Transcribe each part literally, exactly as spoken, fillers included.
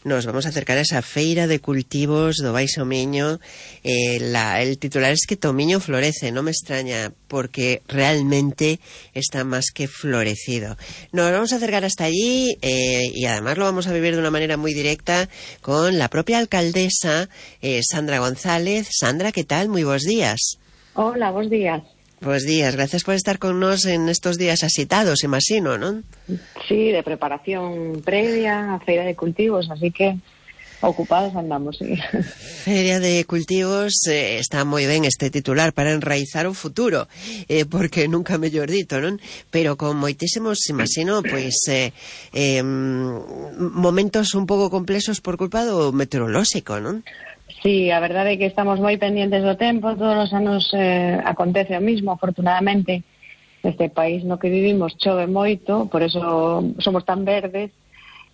nos vamos a acercar a esa feira de cultivos do Baixo Miño. Eh, la, el titular es que Tomiño florece, no me extraña, porque realmente está más que florecido. Nos vamos a acercar hasta allí eh, y además lo vamos a vivir de una manera muy directa con la propia alcaldesa, eh, Sandra González. Sandra, ¿qué tal? Muy buenos días. Hola, buenos días. Buenos días, gracias por estar con nos en estos días asitados, imagino, ¿no? Sí, de preparación previa a Feira de Cultivos, así que ocupados andamos, sí. Feria de Cultivos, eh, está moi ben este titular para enraizar o futuro, eh, porque nunca mellor dito, non? Pero con moitísimos, imagino, pois eh, eh, momentos un pouco complexos por culpa do meteorolóxico, non? Sí, a verdade é que estamos moi pendientes do tempo, todos os anos eh, acontece o mismo, afortunadamente. Neste país no que vivimos chove moito, por eso somos tan verdes,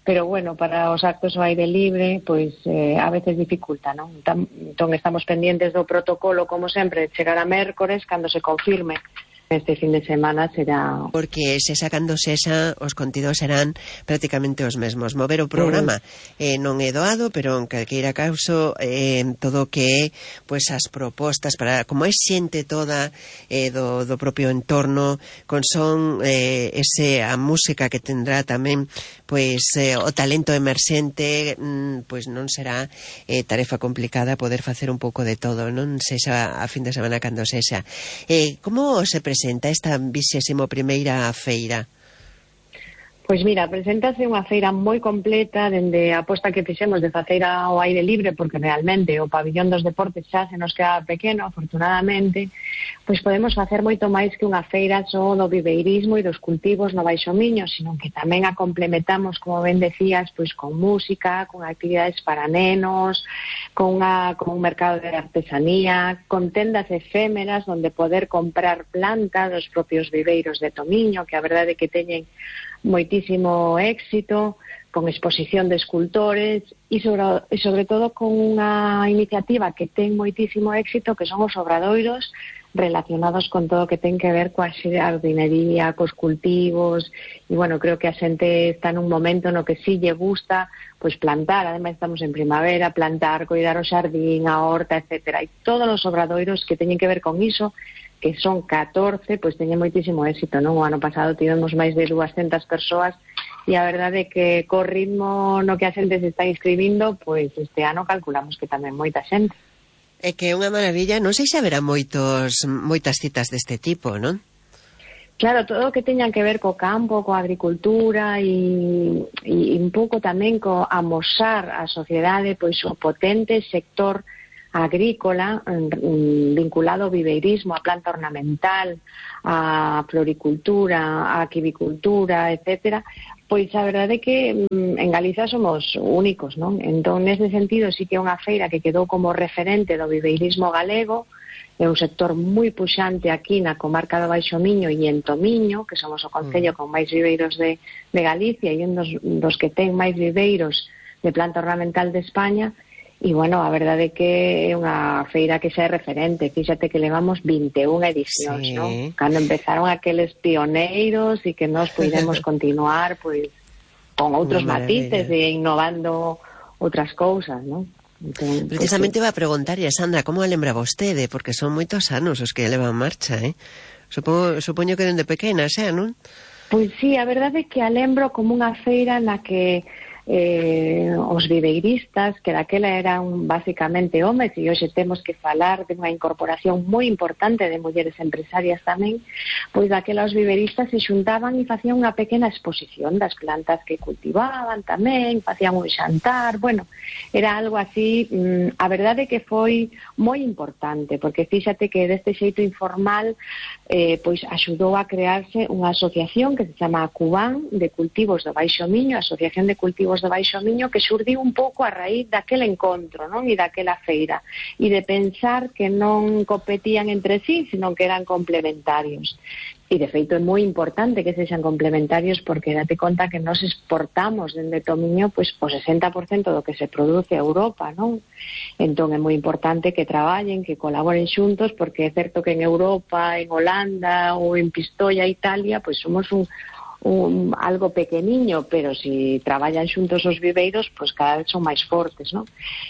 pero bueno, para os actos ao aire libre, pois eh, a veces dificulta, non? Entón estamos pendientes do protocolo, como sempre, chegar a mércores, cando se confirme. Este fin de semana será... Porque se sacando sexa, os contidos serán prácticamente os mesmos. Mover o programa eh, non é doado, pero en calqueira caso eh, todo o que é pois, as propostas para, como é xente toda eh, do, do propio entorno, con son eh, ese, a música que tendrá tamén pois eh, o talento emerxente, mm, pois non será eh, tarefa complicada poder facer un pouco de todo, non sexa a fin de semana cando sexa. Eh, como se presenta presenta esta vigésimo primeira feira? Pois mira, preséntase unha feira moi completa dende a aposta que fixemos de facer ao aire libre, porque realmente o pabillón dos deportes xa se nos queda pequeno, afortunadamente, pois podemos facer moito máis que unha feira só do viveirismo e dos cultivos no Baixo Miño, sino que tamén a complementamos, como ben decías, pois con música, con actividades para nenos, con, unha, con un mercado de artesanía, con tendas efémeras onde poder comprar plantas dos propios viveiros de Tomiño, que a verdade é que teñen moitísimo éxito, con exposición de escultores e sobre, e sobre todo con unha iniciativa que ten moitísimo éxito, que son os obradoiros relacionados con todo o que ten que ver coa jardinería, cos cultivos, e bueno, creo que a xente está nun momento no que sí lle gusta pois plantar, ademais estamos en primavera, plantar, coidar o xardín, a horta, etcétera, e todos os obradoiros que teñen que ver con iso, que son catorce, pois teñen moitísimo éxito, non? O ano pasado tivemos máis de duascentas persoas e a verdade é que co ritmo no que a xente se está inscribindo, pois este ano calculamos que tamén moita xente. É que é unha maravilla, non sei se haberá moitos, moitas citas deste tipo, non? Claro, todo o que teñan que ver co campo, coa agricultura e, e un pouco tamén co amosar a sociedade pois o potente sector agrícola vinculado ao viveirismo, a planta ornamental, a floricultura, a aquivicultura, etcétera, pois a verdade é que en Galiza somos únicos, non? Entón, nese sentido, sí que é unha feira que quedou como referente do viveirismo galego, é un sector moi puxante aquí na comarca do Baixo Miño e en Tomiño, que somos o concello con máis viveiros de, de Galicia e un dos, dos que ten máis viveiros de planta ornamental de España. E, bueno, a verdade é que é unha feira que xa é referente. Fíxate que levamos vinte e unha edicións, sí, non? Cando empezaron aqueles pioneiros e que nós podemos continuar, pois, con outros matices e innovando outras cousas, non? Entón, precisamente iba a preguntar, Sandra, como a lembra vostede? Porque son moitos anos os que levan marcha, eh? Supoño, supoño que dende pequena, xa, non? Pois sí, a verdade é que a lembro como unha feira na que eh, os viveiristas, que daquela eran basicamente homes, e hoxe temos que falar de unha incorporación moi importante de mulleres empresarias tamén, pois daquela os viveiristas se xuntaban e facían unha pequena exposición das plantas que cultivaban tamén, facían un xantar, bueno, era algo así, mmm, a verdade é que foi moi importante, porque fíxate que deste xeito informal eh, pois axudou a crearse unha asociación que se chama Cubán de Cultivos do Baixo Miño, Asociación de Cultivos do Baixo Miño, que xurdiu un pouco a raíz daquele encontro, non? E daquela feira, e de pensar que non competían entre sí, sino que eran complementarios. E, de feito, é moi importante que sexan complementarios porque date conta que nos exportamos dende Tomiño pois, o sesenta por cento do que se produce a Europa, non? Entón, é moi importante que traballen, que colaboren xuntos, porque é certo que en Europa, en Holanda ou en Pistoia, Italia, pois somos un, un, algo pequeniño, pero si traballan xuntos os viveiros, pois cada vez son máis fortes, non?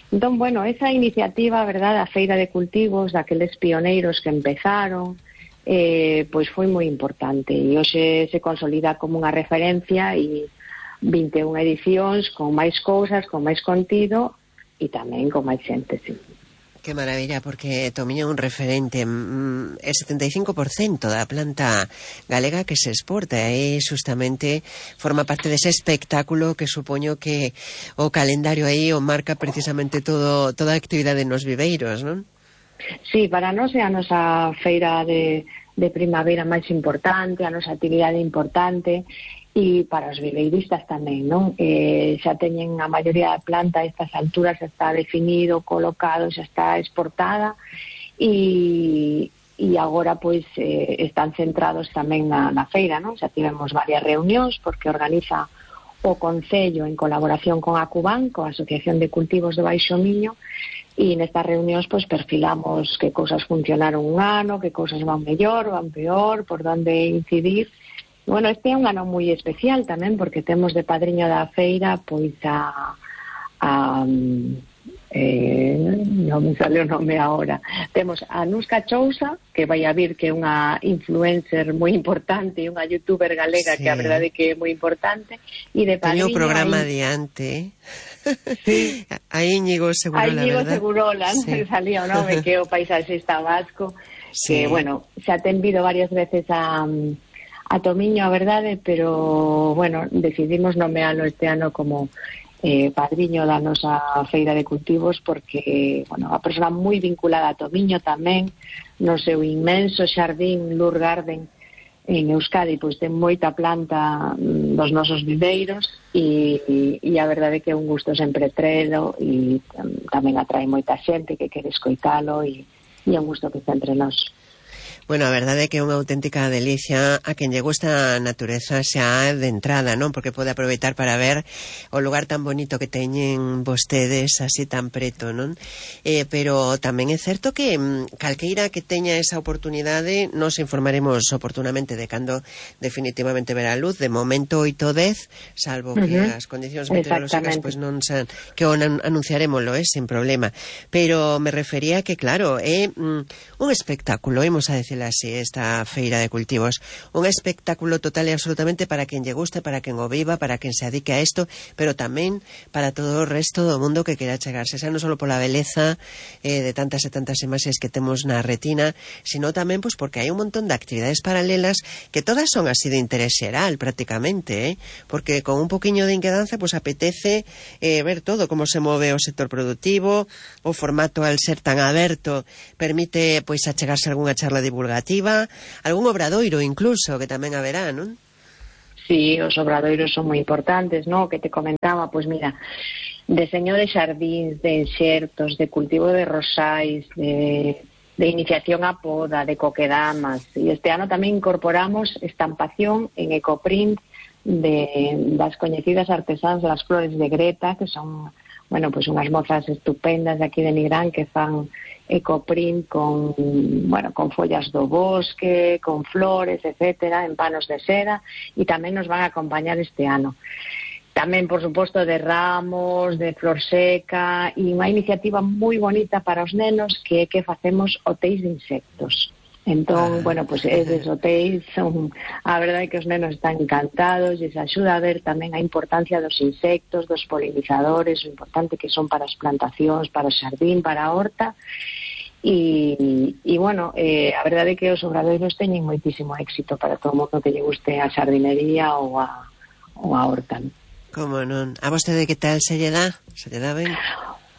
Entón, bueno, esa iniciativa, verdad, a Feira de Cultivos, daqueles pioneiros que empezaron, eh, pois foi moi importante, e hoxe se consolida como unha referencia, e vinte e unha edicións con máis cousas, con máis contido, e tamén con máis xente, sí. Que maravilla, porque Tomiño é un referente, mm, é setenta e cinco por cento da planta galega que se exporta, e justamente forma parte dese espectáculo que supoño que o calendario aí o marca precisamente todo, toda a actividade nos viveiros, non? Sí, para nós é a nosa feira de, de primavera máis importante, a nosa actividade importante, e para os viveiristas tamén, non? Eh, xa teñen a maioría da planta a estas alturas, xa está definido, colocado, xa está exportada, e, e agora pois eh, están centrados tamén na, na feira, non? Xa tivemos varias reunións porque organiza o Concello en colaboración con a Cuban, coa Asociación de Cultivos do Baixo Miño, e nestas reunións pois perfilamos que cousas funcionaron un ano, que cousas van mellor, van peor, por onde incidir. Bueno, este é un ano moi especial tamén, porque temos de padriño da feira pois a, a eh, non me sale o nome agora, temos a Nusca Chousa, que vai a vir, que é unha influencer moi importante e unha youtuber galega, sí, que a verdade que é moi importante, e de padriño teño o programa aí... adiante. Sí. A Íñigo Segurola, a Íñigo verdad? Segurola, sí. salía o nome, que é o paisaxista vasco, sí. que, bueno, xa ten vido varias veces a... a Tomiño, a verdade, pero, bueno, decidimos nomealo este ano como eh, padriño da nosa Feira de Cultivos, porque, bueno, a persona moi vinculada a Tomiño tamén, no seu inmenso xardín Lur Garden en Euskadi, pois ten moita planta dos nosos viveiros, e, e, e a verdade que é un gusto sempre trelo, e um, tamén atrae moita xente que quere escoitalo, e, e é un gusto que está entre nós. Bueno, a verdade é que é unha auténtica delicia a quen lle gusta a natureza xa de entrada, non? Porque pode aproveitar para ver o lugar tan bonito que teñen vostedes así tan preto, non? Eh, pero tamén é certo que calqueira que teña esa oportunidade nos informaremos oportunamente de cando definitivamente verá a luz. De momento oito dez, salvo que uh-huh. as condicións meteorolóxicas pois non san, que o anunciaremoslo, eh, sin problema. Pero me refería que, claro, é mm, un espectáculo, imos a decir así, esta Feira de Cultivos, un espectáculo total e absolutamente para quen lle guste, para quen o viva, para quen se adique a isto, pero tamén para todo o resto do mundo que quera chegarse, xa non só pola beleza eh, de tantas e tantas imaxes que temos na retina, sino tamén pois porque hai un montón de actividades paralelas que todas son así de interés xeral prácticamente, eh? Porque con un poquinho de inquedanza pois apetece eh, ver todo, como se move o sector productivo, o formato al ser tan aberto permite pois achegarse algunha charla divulgativa, algún obradoiro incluso, que tamén haberá, non? Sí, os obradoiros son moi importantes, non? Que te comentaba, pois mira, deseño de xardíns, de enxertos, de cultivo de rosais, de, de iniciación a poda, de coquedamas, e este ano tamén incorporamos estampación en ecoprint de, das coñecidas artesáns das flores de Greta, que son, bueno, pois unhas mozas estupendas de aquí de Nigrán que fan ecoprint con, bueno, con follas do bosque, con flores, etcétera, en panos de seda, e tamén nos van a acompañar este ano. Tamén, por suposto, de ramos, de flor seca, e unha iniciativa moi bonita para os nenos, que é que facemos hotéis de insectos. Entón, ah. bueno, pois pues, eses hotéis son, a verdade é que os nenos están encantados, e se axuda a ver tamén a importancia dos insectos, dos polinizadores, o importante que son para as plantacións, para o xardín, para a horta. E, e bueno, eh, a verdade é que os obradoiros teñen moitísimo éxito para todo o mundo que lle guste a xardinería ou a, ou a horta. Como non? A vostede que tal se lle dá? Se lle dá ben?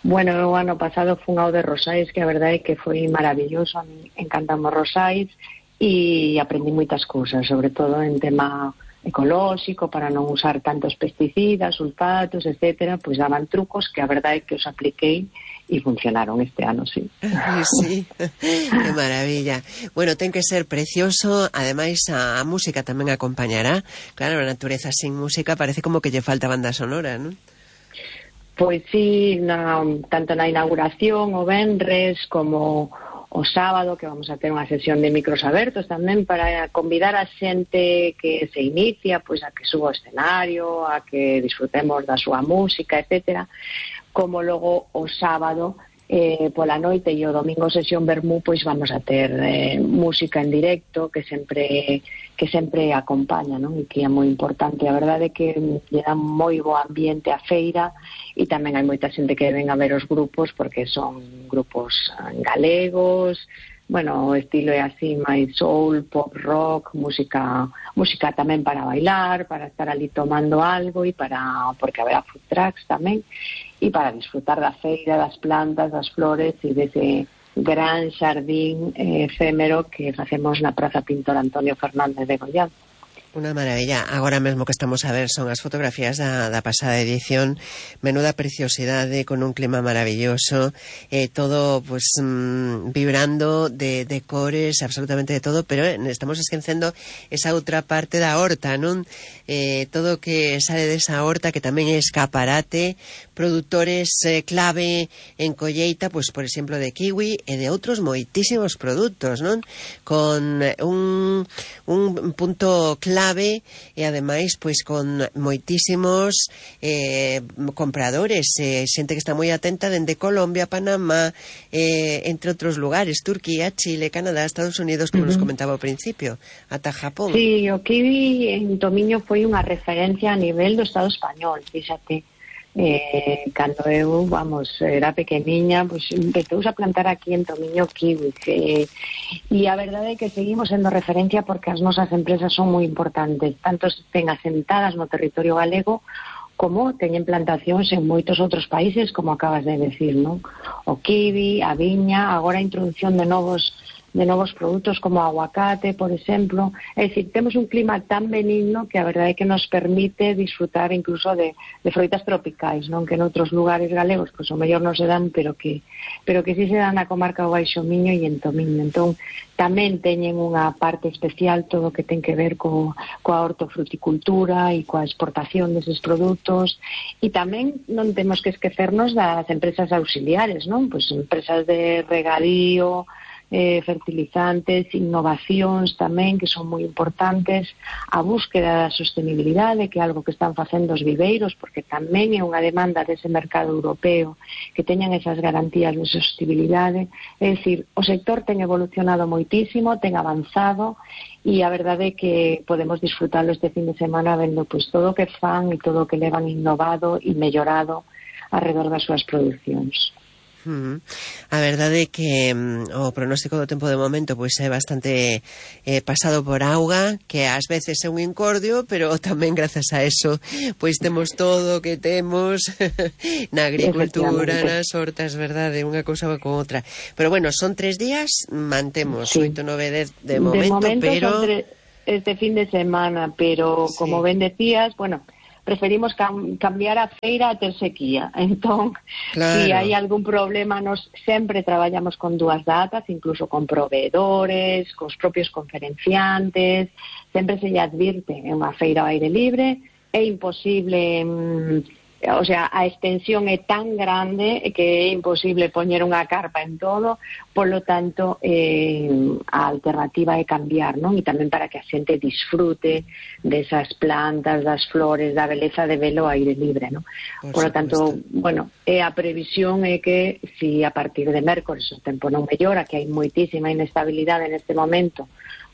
Bueno, o ano pasado fun ao de rosais, que a verdade é que foi maravilloso, a mí encantamos rosais, e aprendi moitas cousas, sobre todo en tema ecolóxico, para non usar tantos pesticidas, sulfatos, etcétera, pois daban trucos que a verdade é que os apliquei e funcionaron este ano, sí. Sí, que maravilla. Bueno, ten que ser precioso, ademais a, a música tamén acompañará. Claro, a natureza sin música parece como que lle falta banda sonora, non? Pois sí, na, tanto na inauguración o venres como o sábado, que vamos a ter unha sesión de micros abertos tamén para convidar a xente que se inicia, pois a que suba ao escenario, a que disfrutemos da súa música, etcétera. Como logo o sábado eh, pola noite e o domingo sesión vermú, pois vamos a ter eh, música en directo que sempre que sempre acompaña, non? E que é moi importante. A verdade é que lle dá moi bo ambiente a feira e tamén hai moita xente que ven a ver os grupos porque son grupos galegos, bueno, o estilo é así máis soul, pop rock, música música tamén para bailar, para estar ali tomando algo e para porque haberá food trucks tamén e para disfrutar da feira, das plantas, das flores e dese gran xardín eh, efémero que facemos na Praza Pintor Antonio Fernández de Goián. Unha maravilla. Agora mesmo que estamos a ver son as fotografías da, da pasada edición. Menuda preciosidade, con un clima maravilloso, eh, todo pues mmm, vibrando de, de cores, absolutamente de todo, pero eh, estamos esquecendo esa outra parte da horta, non? Eh, todo que sale desa horta, que tamén é escaparate, produtores eh, clave en colleita, pues por exemplo de kiwi e de outros moitísimos produtos, non? Con un, un punto clave clave e ademais pois con moitísimos eh, compradores, eh, xente que está moi atenta dende Colombia, Panamá, eh, entre outros lugares, Turquía, Chile, Canadá, Estados Unidos, como uh-huh. nos comentaba ao principio, ata Japón. Sí, o kiwi en Tomiño foi unha referencia a nivel do Estado español, fíxate. Eh, cando eu, vamos, era pequeniña, pues empezouse a plantar aquí en Tomiño kiwi eh, e a verdade é que seguimos sendo referencia porque as nosas empresas son moi importantes, tanto estén asentadas no territorio galego como teñen plantacións en moitos outros países, como acabas de decir, non? O kiwi, a viña, agora a introducción de novos de novos produtos como o aguacate, por exemplo. É dicir, temos un clima tan benigno que a verdade é que nos permite disfrutar incluso de, de froitas tropicais, non? Que en outros lugares galegos, pois o mellor non se dan, pero que pero que sí se dan na comarca do Baixo Miño e en Tomiño. Entón, tamén teñen unha parte especial todo o que ten que ver co, coa hortofruticultura e coa exportación deses produtos, e tamén non temos que esquecernos das empresas auxiliares, non? Pois empresas de regadío, Eh, fertilizantes, innovacións tamén que son moi importantes, a búsqueda da sostenibilidade, que é algo que están facendo os viveiros, porque tamén é unha demanda dese mercado europeo que teñan esas garantías de sostenibilidade. É dicir, o sector ten evolucionado moitísimo, ten avanzado e a verdade é que podemos disfrutalo este fin de semana vendo pois todo o que fan e todo o que levan innovado e mellorado alrededor das súas producións. Uh-huh. A verdade é que um, o pronóstico do tempo de momento pois é bastante eh, pasado por auga, que ás veces é un incordio, pero tamén grazas a eso pois temos todo o que temos na agricultura, nas hortas, verdade, unha cousa va con outra. Pero bueno, son tres días, mantemos sí. oito, nove, dez de momento, de momento pero son tre- este fin de semana, pero sí. como ben decías, bueno, preferimos cam- cambiar a feira a ter sequía. Entón, claro. Si hai algún problema, nos sempre traballamos con dúas datas, incluso con proveedores, cos propios conferenciantes, sempre se lle advirte en unha feira ao aire libre, é imposible... Mmm, o sea, a extensión é tan grande que é imposible poñer unha carpa en todo, polo tanto eh, a alternativa é cambiar, non? E tamén para que a xente disfrute desas plantas, das flores, da beleza de velo ao aire libre, non? Por lo tanto, bueno, é a previsión é que si a partir de mércores o tempo non mellora, que hai moitísima inestabilidade neste momento,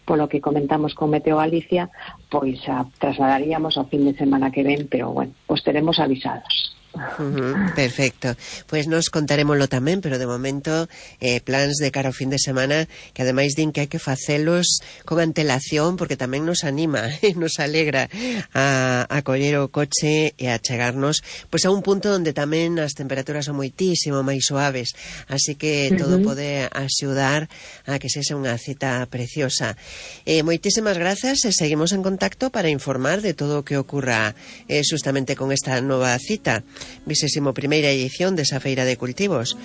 polo que comentamos con Meteo Galicia, pois a trasladaríamos ao fin de semana que ven, pero bueno, os teremos avisados. Uh-huh, perfecto, pois nos contarémoslo tamén, pero de momento eh, plans de cara ao fin de semana que ademais din que hai que facelos con antelación, porque tamén nos anima e nos alegra a, a coller o coche e a chegarnos pois a un punto onde tamén as temperaturas son moitísimo máis suaves, así que uh-huh. todo pode axudar a que sexa unha cita preciosa. Eh, moitísimas grazas e seguimos en contacto para informar de todo o que ocurra eh, justamente con esta nova cita, vigésimo primeira edición desa Feira de Cultivos.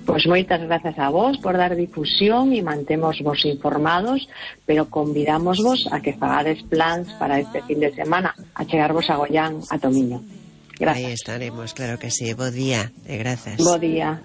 Pois moitas grazas a vos por dar difusión e mantemos vos informados, pero convidamos vos a que fagades plans para este fin de semana, a chegarvos a Goián, a Tomiño. Grazas. Aí estaremos, claro que sí. Bo día e grazas. Bo día.